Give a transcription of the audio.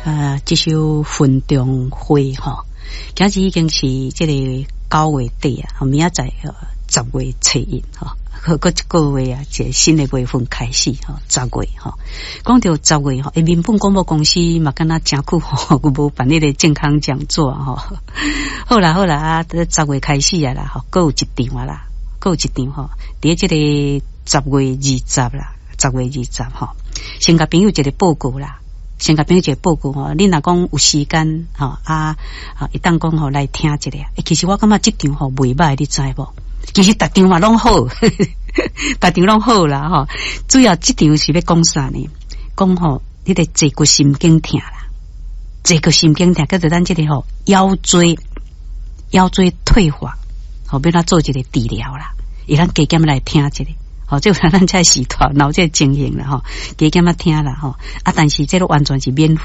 啊，這首《雲中花》吼，今日已經是這個9月底啊，明仔載10月初1吼，閣一個月啊，一個新的月份開始吼，十月吼，講著十月吼，民本廣播公司嘛，敢若誠久吼，無辦彼個健康講座吼。好啦好啦啊，十月開始啊啦，吼，閣有一場啊啦，閣有一場吼，佇這個10月20啦，十月二十吼，先共朋友一個報告啦。先共朋友一個報告吼，你若講有時間吼啊，會當講吼來聽一下。欸，其實我感覺這場吼袂䆀，你知無？其實逐場嘛攏好，逐場攏好啦吼。主要這場是欲講啥呢？講吼，彼個坐骨神經疼啦，坐骨神經疼叫做咱這個吼腰椎退化，吼欲按怎做一個治療啦？會當加減來聽一下。吼，這有咱這時段，有這個情形啦吼，加減仔聽啦吼。啊，但是這個完全是免費。